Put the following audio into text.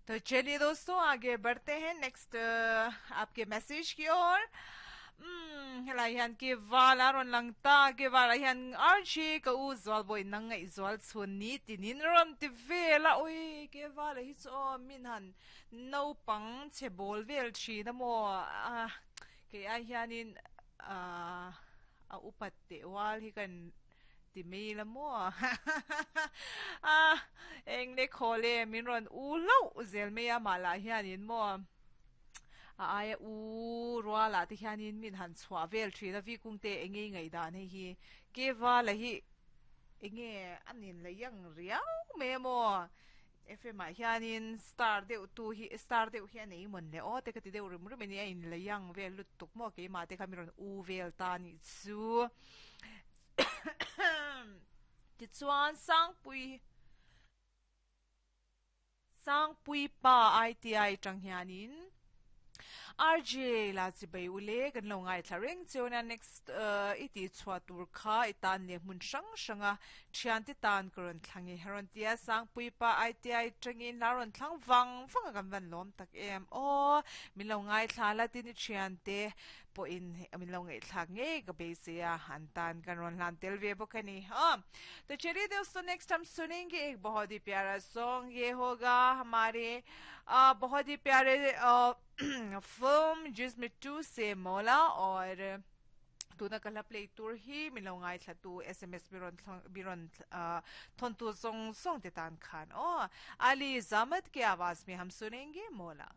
तो चलिए दोस्तों, आगे बढ़ते हैं नेक्स्ट आपके मैसेज की ओर. Helai hian ke vala rawn lang ta, ke vala hian RJ ka u zual bawi nang ngaih zual chhun ni tinin rawn ti vel a, ui ke vala hi chu aw min han naupang chhe bawl vel thin a maw a kei ai hianin a upat teh ual hi kan ti mai la maw a eng le khaw le min rawn u hlauh zel mai a mah lah hianin maw a aia u rualah te hianin min han chhuah vel thin a vikung te eng nge i ngaihdan hei hi kevala hi eng nge a nin la yang riau mai a maw FM ah hianin star deuh tu hi star deuh hi a nei mawn le aw te ka ti deuh rim rim a ni a in la yang vel lutuk maw keimah te kha min rawn u vel ta a nih chu. Tichuan Sangpui Sangpui pa ITI tang hianin RJ la chibai ule kan lo ngaithla reng cheu nia next i tih chhuah tur kha i tan leh hmun hrang hranga thiante tan ka rawn thlang i rawn ti a Sangpui pa ITI tangin la rawn thlang vang vang a kan van lawm tak em aw min lo ngaithla la tin i thiante pawhin min lo ngaihthlak ngei ka beisei a, an tan kan rawn hlan tel ve bawk a ni. Haa. To chaliye dosto next hum sunenge ek bahut hi pyara song ye hoga hamare bahut hi pyare film jism 2 se Maula aur tuna ka hla play tur hi min lo ngaithla tu SMS mi rawn mi rawn thawn tu zawng zawng te tan khan aw Ali Zamad ke awaaz mein hum sunenge Maula.